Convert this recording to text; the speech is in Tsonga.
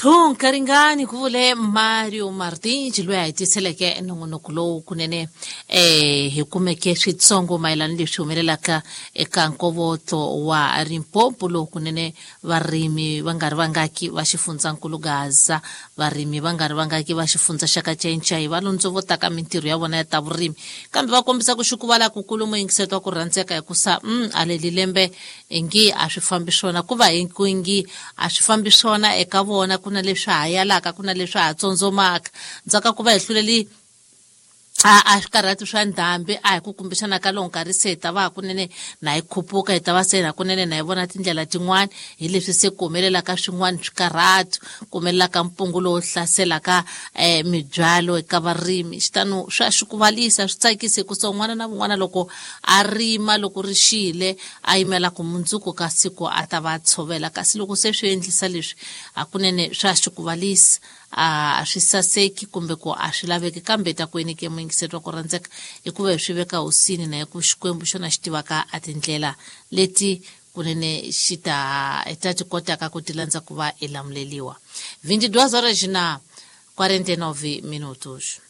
Nkaringani ku vule Mario Martins loyi a hi tiseleke nongonoko lowu kunene hi kumeke switsongo mayelana leswi humelelaka eka nkovotlo wa Limpopo lowu kunene varimi va nga ri vangaki va xifundzankulu Gaza, varimi va nga ri vangaki va xifundza xa Kacencai va londzovotaka mintirho ya vona ya ta vurimi, kambe va kombisa ku xukuvala kukulu muyingiseto wa ku rhandzeka hikusa a leli lembe ingi a swi fambi swona, ku va ingi a swi fambi swona eka vona, ku na leswi ha yalaka, ku na leswi ha tsondzomaka. Ndzhaku ka ku va hi hluleli a swikarhati swa ndhambi, a hi ku kumbexana ka lowu nkarhi se hi ta va hakunene na hi khupuka, hi ta va se hakunene na hi vona tindlela tin'wana, hi leswi se ku humelelaka swin'wana swikarhati, ku humelelaka mpungu lowu hlaselaka mibyalo eka varimi. Xitano swa xikuvalisa, swi tsakisi hikusa un'wana na un'wana loko a rima, loko ri xile a yimela ku mundzuku ka siku a ta va tshovela, kasi loko se swi endlisa leswi hakunene swa xikuvalisa, a swi saseki kumbe ku a swi laveki. Kambe ta ku eneke muyingiseri wa ku rhandzeka, hikuva hi swi veka hosini na hi ku Xikwembu xona xi tivaka a tindlela leti kunene xi ta ta ti kotaka ku ti landza ku va i lamuleliwa. 22 horas na 49 minutos.